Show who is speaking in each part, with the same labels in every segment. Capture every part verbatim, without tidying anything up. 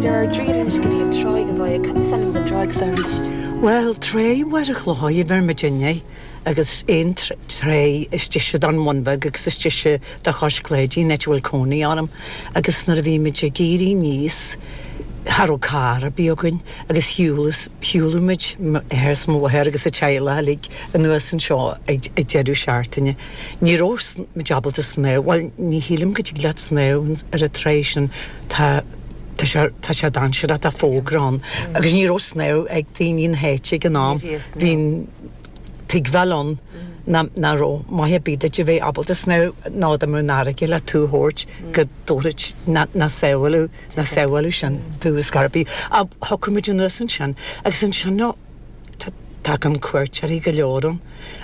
Speaker 1: Táimid ar ár dtriall anois go dtí an tráigh a Mháire cad is ainm don tráigh seo arís.
Speaker 2: Well Tráigh Mhachaire Chlochair a bheir muidinne agus aon tráigh istigh don Bhun Bheag agus istigh do Chois Cléidín áit a bhfuil cónaí orm agus nuair a bhí muid ag éirí aníos cha raibh carr ar bith againn agus shiúladh muid m'athair is mo mháthair agus a teaghlach uilig anuas anseo ag ag deireadh seachtaine. Ní raibh muid ábalta snámh, bhuel ní shílim go dtig leat snámh ar an tráigh sin tá tá sé tá sé dainséarach tá fógra ann agus ní raibh snámh ag daoine na háite ag an am. Bhí tuigbheáil ann ná ná raibh maith ar bith duit a bheith ábalta snámh ná dá mbeadh an fharraige le tú a thabhairt go dtabharfadh ná ná sábháladh ná sábháladh sin tú is ar bith. Ach thiocfadh muid anuas ansin agus ansin nó tagann cuairteoirí go leor ann.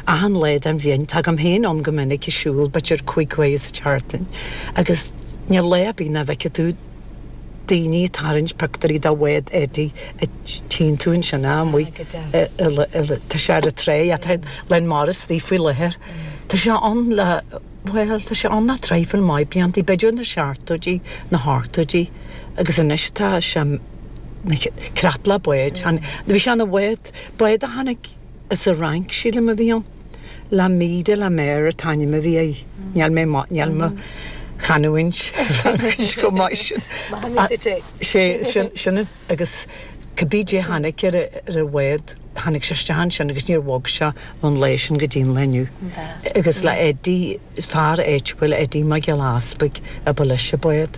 Speaker 2: Achan lá den bhliain tagaim féin ann go minic ag siúl b'fhéidir cúig uair sa tseachtain agus níl lá ar bith nach bhfeicfidh tú daoine ag tarraingt pictiúirí de bhád Eddie a tchíonn tú ansin amuigh tá sé ar an tráigh atá Len Morris istigh faoi láthair. Tá sé ann le bhuel tá sé ann le traidhfil maith blianta, b'fhéidir na seachtóidí, na hochtóidí agus anois tá sé creatlach báid. Bhí sé ina bhád, bád a tháinig as an Fhrainc sílim a bhí ann. L'Ami de la Mer an t-ainm a bhí air. Níl mé níl mo chanúint Fraincis go maith sin. Sé sin sin agus cibé dé tháinig ar ar an bhád tháinig sé isteach ansin agus níor bhog sé ón lá sin go dtí an lá inniu. Agus le Eddie fear áitiúil Eddie Mac Giolla Easpaig a ba leis an bád.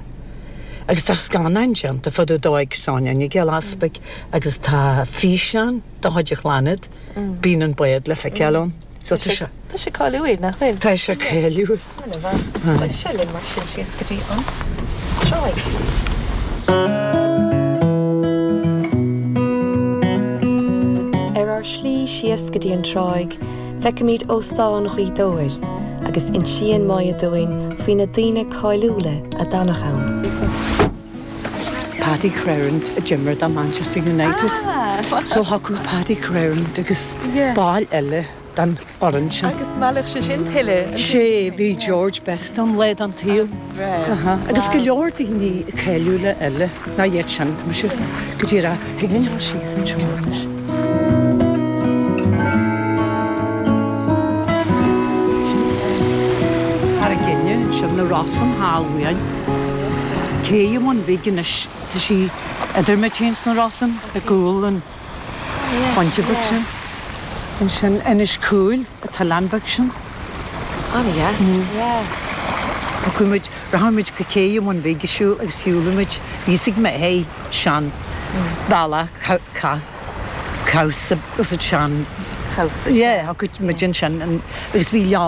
Speaker 2: Agus tá scannán déanta fá dtaobh dó ag Sonia Nic Giolla Easpaig agus tá físeán de chuid a chlannad bíonn an bád le feiceáil ann. So tá sé
Speaker 1: Tá sé cáiliúil nach bhfuil?
Speaker 2: Tá sé cáiliúil.
Speaker 1: Tá sé linn mar sin síos go dtí an tráigh. Ar ár slí síos go dtí an tráigh, feicimid óstán Ghaoth Dobhair agus insíonn Máire dúinn faoi na daoine cáiliúla a d'fhanadh ann.
Speaker 2: Paddy Crerand a d'imir do Manchester United.
Speaker 1: Ah!
Speaker 2: So thiocfadh Paddy Crerand agus
Speaker 1: Yeah.
Speaker 2: ball eile den fhoireann sin.
Speaker 1: Agus meallfadh sé sin tuilleadh.
Speaker 2: Sé bhí George Best an le an tsaol. Agus go leor daoine cáiliúla eile ná iad sin tá sé go dtí thig linn síos anseo anois. Carraig sin na Rosann thall uainn. Cé an Bhun Bhig anois tá sí idir muid féin sna Rosann i gcúl an phointe beag sin. Ansin Inis Cúil atá an beag sin.
Speaker 1: An-dheas.
Speaker 2: Chuaigh muid rachaidh muid go cé an Bhun Bhig ag siúl agus shiúlaigh muid bhí mé hé sean bealach cabhsa sean
Speaker 1: Cabhsa.
Speaker 2: Yeah, chuaigh muid ansin agus bhí